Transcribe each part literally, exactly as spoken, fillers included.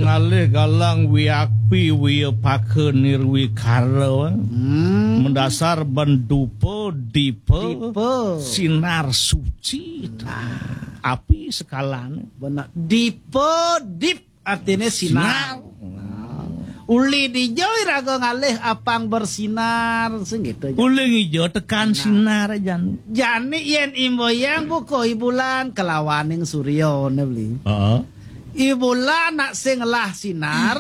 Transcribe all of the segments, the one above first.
Ngalih galang wiakpi wiapaka nirwikara. Hmm. Mendasar ben dupa dipa Dipa. Sinar suci. Nah. Api sekalane. Benar. Dipa dip artine sinar. Sinar. Nah. Uli dija iraga ngalih apang bersinar, sing gitu aja. Uli ngija tekan Nah. Sinar aja. Jani yen imboyang buka i bulan kelawaning surya ne beli. Heeh. I bulan nak sing ngelah sinar,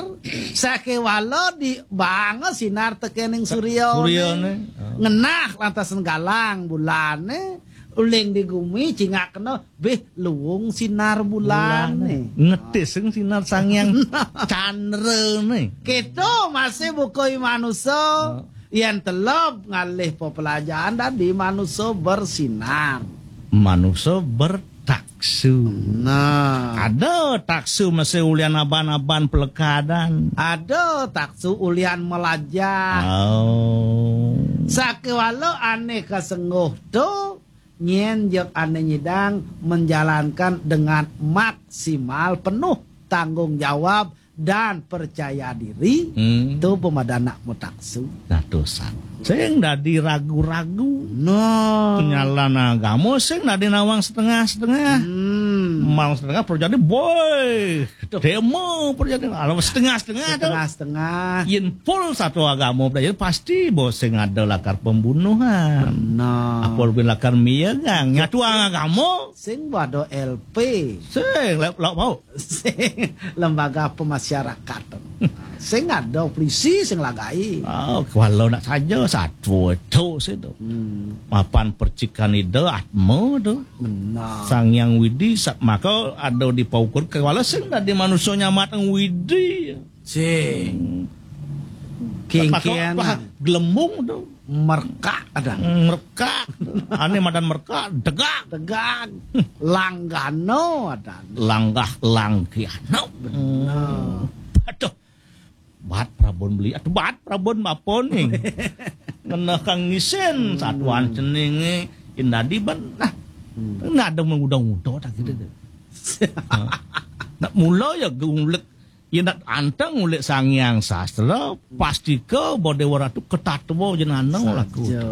sakewala di bang sinar tekening surya. Surya ne. Heeh. Ngenah lantasan galang bulane, uling di gumi cingak kena bih luung sinar bulane. Bulane. Ngetis sing sinar Sang Hyang Chandra ne. Kita masih buka i manusa. Heeh. Yen telep ngalih pepelajaran dadi manusa bersinar. Manusa bertaksu. Nah. Ada taksu masih ulian aban-aban pelekadan. Ada taksu ulian melajah. Oh. Sakewala ane kasengguh tu, nyen jek ane nyidang menjalankan dengan maksimal penuh tanggung jawab dan percaya diri, Hmm. tu pemadanak mutaksu. Nah, dosa. Sing dadi ragu-ragu. No. Nyalan agama sing dadi nawang setengah-setengah. Hmm. Nawang setengah perjadi, boy. Aduh. Demo perjadi. Kalau setengah-setengah tu. Setengah-setengah. Yen full satu agama perjadi, pasti bos sing ada lakar pembunuhan. Benar. Apa lebih lakar miyagang. Nyatu agama. Sing wado L P. Sing, lek, lek mau. Sing lembaga pemasyarakatan. Sing ada polisi sing lagai. Oh, kalau nak saja satu itu sih tu. Hmm. Mapan percikan ida atma tu. Benar. Sang Hyang Widi sak maka ada di paukur kewala sing dadi manusia nyamat Widi. Sing. Hmm. Kingkian. Maka, wah, gelembung tu. Merkak ada. Hmm, merkak. Ane madan merkak, degak. Degak. Langgano ada. Langgah langkiano. Benar. Hmm. Aduh. Bat Prabon beli. Aduh, bat Prabon apa nih? Ngena kang ngisin. Hmm. Satuan ceninge. Indadi ban. Nah. Hmm. Nah, ada mengudang-udang tak gitu deh. Ha. Nak mula ya gulek. Yen nak anteng ulik Sang Hyang Sastra, pastika Badewa Ratu ketatwa jenana laku. Saja.